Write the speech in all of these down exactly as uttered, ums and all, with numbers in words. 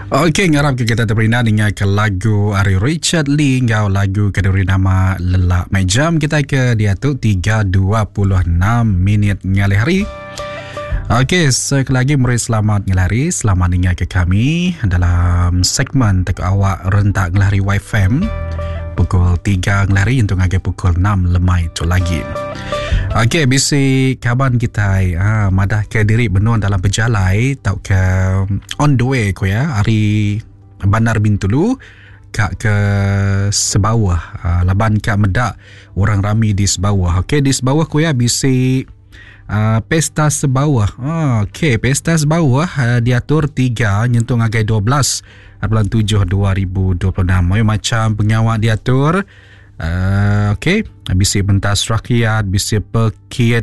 Okey, ngarap ke kita terperindang dengar ke lagu ari Richard Lee enggau lagu ke diberi nama Lelak. Mai jam kita ke diatu tiga dua puluh enam minit ngalih hari. Okey, sekali lagi meri selamat ngalih hari, selamat dengar ke kami dalam segmen Tekuk Awak Rentak Ngalih Hari Y F M pukul tiga ngalih hari untuk ngagai pukul enam lemai tu lagi. Okey, bisi kaban kita ha, madah ke diri benung dalam pejalai tau ke on the way ko ya hari Bandar Bintulu ka ke Sebawah ha, laban ka medak orang rami di Sebawah. Okey, di Sebawah ko ya bisi uh, pesta Sebawah. Ha, okey, pesta Sebawah uh, diatur tiga nyentuh ngagai dua belas bulan tujuh dua ribu dua puluh enam. Mai macam pengawak diatur. Uh, okey, bisi pentas rakyat, bisi pekit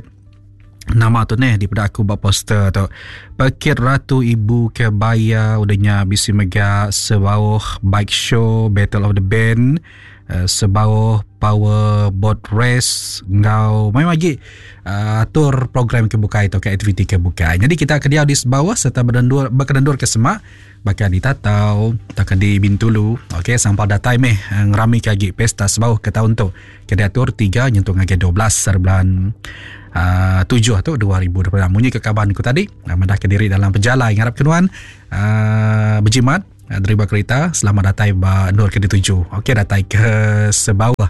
nama tu neh daripada aku buat poster tu. Pekit Ratu Ibu Kebaya, udahnya bisi mega Sebauh Bike Show, Battle of the Band, uh, Sebauh Power Boat Race, ngau mai lagi uh, atur program kebukai atau ke aktiviti kebukai. Jadi kita ke dia di Sebauh serta berdendur berkendur ke Semak, bakal di Tatau, takkan di Bintulu. Okey, sampai datai meh ngerami kagi pesta Sebauh ke tahun tu. Ke diatur tiga nyentuh ngagai dua belas bulan uh, tujuh tu dua ribu dua puluh enam. Munyi ke kaban ku tadi, madah ke diri dalam pejalai ngarap kenuan uh, berjimat driver kereta selamat datai ba nur ke dituju. Okey, datai ke Sebauh.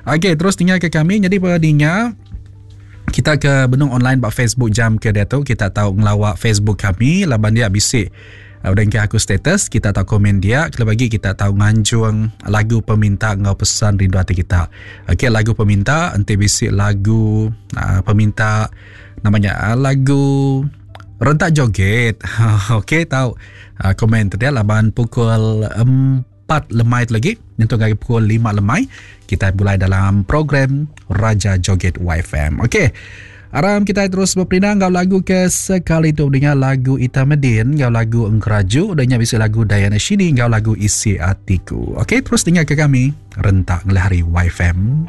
Okey, terus tinggal ke kami. Jadi pada kita ke benung online ba Facebook jam ke dia tu, kita tahu ngelawak Facebook kami laban dia bisik udah ke aku status, kita tahu komen dia, kalau bagi kita tahu nganjung lagu peminta ngau pesan rindu hati kita. Okey, lagu peminta enti bisik lagu uh, peminta namanya uh, lagu rentak joget. Okey, tahu uh, komen tu dia laban pukul empat lemai tu lagi nyentuh lagi pukul lima lemai kita mulai dalam program Raja Joget Y F M. Okey. Aram kita terus berperindang ngau lagu ke sekali tu dengar lagu Ita Medin, ngau lagu Engkeraju, dan bisa lagu Diana Shini, ngau lagu Isi Atiku. Okey, terus dengar ke kami Rentak Ngelih Hari Y F M.